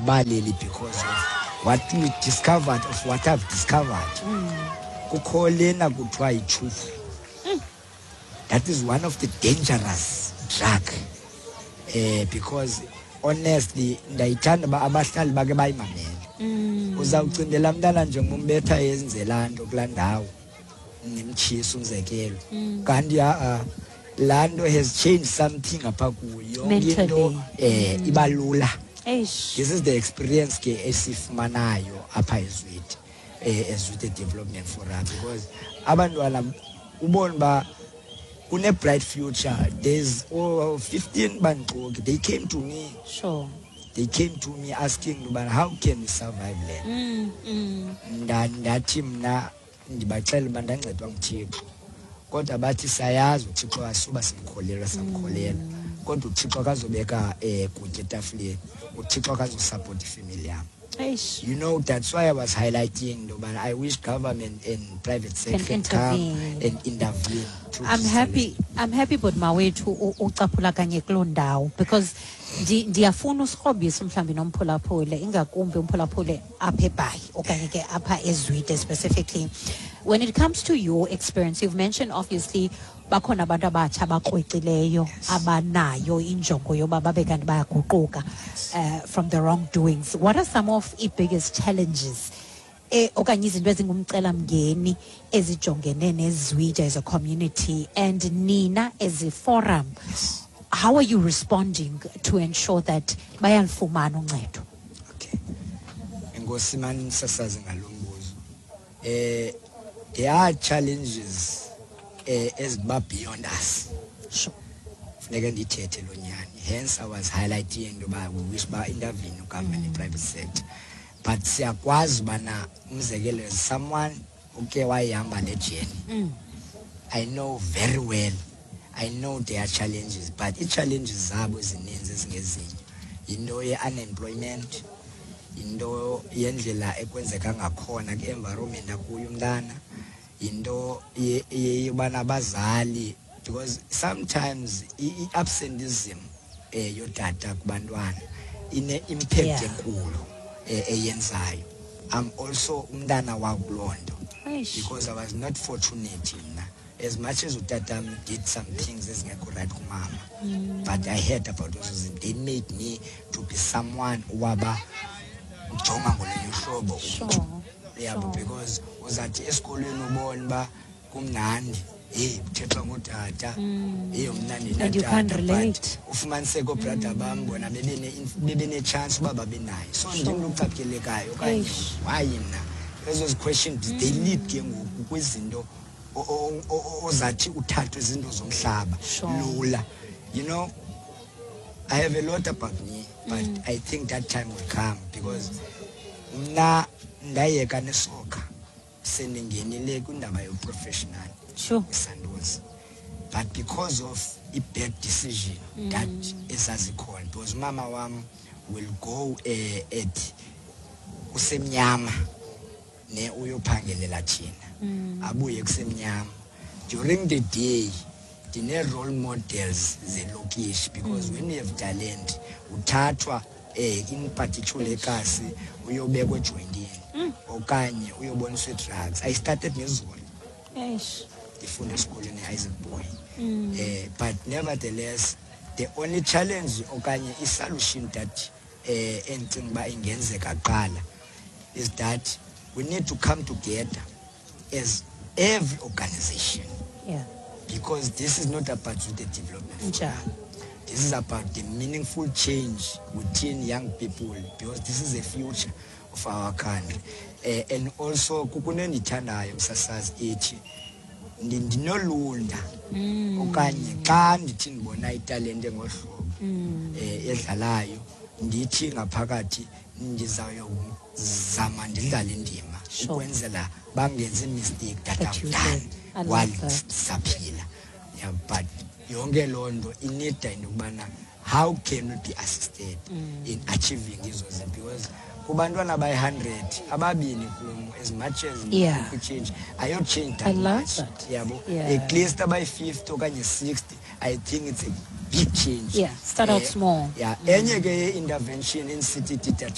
Andikubaleli because of what we discovered, of what I've discovered. Kukho lena kuthiwa yichufu. That is one of the dangerous drug, because honestly ndayithanda uba abahlali bake bayimamele. Uzawucindela mntana njengombetha yenze laa nto kulaa ndawo, nimtshisa umzekelo, kanti ha-a, laa nto has changed something apha kuyo yonke into. Mentally. Iba lula. Eish. This is the experience ke esifumanayo apha eZwide, eZwide Development Forum, because abantwana ubona uba kune-bright future. There's, oh, 15 bandixoki, they came to me. They came to me asking uba how can we survive le. Ndathi mna ndibaxela uba ndancedwa nguThixo, kodwa bathi sayazi uThixo, asuba simkholelwa, samkholelwa, kodwa uThixo akazobeka kutya etafileni, uThixo akazosapota ifemeli yam. Eish. That's why I was highlighting yobana I wish government and private sector can can come intervene. And intervene to I'm happy, I'm happy, but mawethu ucaphula kanye kuloo ndawo because ndiyafuna usikrobise mhlawumbi nomphulaphule, ingakumbi umphulaphule apha eBhayi okanye ke apha eZwide specifically. When it comes to your experience, you've mentioned obviously bakhona abantu abatsha abakrwecileyo abanayo injongo yoba babe kanti bayaguquka from the wrongdoings. What are some of i-biggest challenges okanye izinto ezingumcelamngeni ezijongene neZwide as a community, and nina as a forum, how are you responding to ensure that bayalufumana uncedo? Okay, enkosi mani msasazi ngalo mbuzo. There are challenges eziba beyond us. Funeke ndithethe lo nyani, hence I was highlighting into yoba we wish uba intervene government and private sector, but siyakwazi ubana umzekelo as someone uke wayihamba le journey, I know very well, I know there are challenges, but ii-challenges zabo ezininzi ezingezinye yinto ye-unemployment, yinto yendlela ekwenzeka ngakhona kwi-environment akuyo umntana, yinto yobana abazali, because sometimes i-absenteeism yotata kubantwana ine-impact enkulu eyenzayo. I'm also umntana wakuloo nto Eish. Because I was not fortunate mna. As much as utatam did some things ezingekho right kumama, but I heard about those zinto. They made me to be someone owaba jonga ngolunye uhlobo. Yabo, because uzathi esikolweni ubone uba kumnandi, heyi, kuthethwa ngotata, heyi, mna. And you can't Ndinatata, but relate. Ufumaniseke oobrada bam bona bebene-chance uba babe nayo, so ndim lo ucaphelekayo okanye Eish. Why mna? Ezo questions, they lead ke ngoku kwizinto ozathi uthathwe izinto zomhlaba lula. I have a lot about me, but I think that time will come, because mna ndayeka nesoccer sendingenile kwindaba yoprofessional iSantos, but because of i-bad decision that ezazikhona, because umama wam will go at kusemnyama ne uyophangelela thina, abuye kusemnyama. During the day ndine-role models zelokishi, because when you have talent uthathwa in particular ekasi uyobekwa ejoyintini okanye uyoboniswa ii-drugs. I started ngezolo Eish. Ndifunda esikolweni e-Isaac Boy, but nevertheless the only challenge okanye i-solution that endicinga uba ingenzeka kuqala is that we need to come together as every organization because this is not about the development forum. Njalo. This is about the meaningful change within young people, because this is the future of our country. And also kukho endiyithandayo msasazi ethi ndinolunda okanye xa ndithi ndibona italente ngohlobo edlalayo, ndithi ngaphakathi ndizawuyozama ndidlale indima ukwenzela bangenzi mistake that That I've you done did. I love while that. sisaphila. Yeah, but yonke loo nto inida into yokubana how can we be assisted in achieving ezo zinto, because kubantwana abayi-100 ababini kum, as much as change ayochange that I love much that. yabo. At least abayi-50 okanye 60, I think it's a big change. Yeah, start out small. Yeah, enye ke ye-intervention in city tita.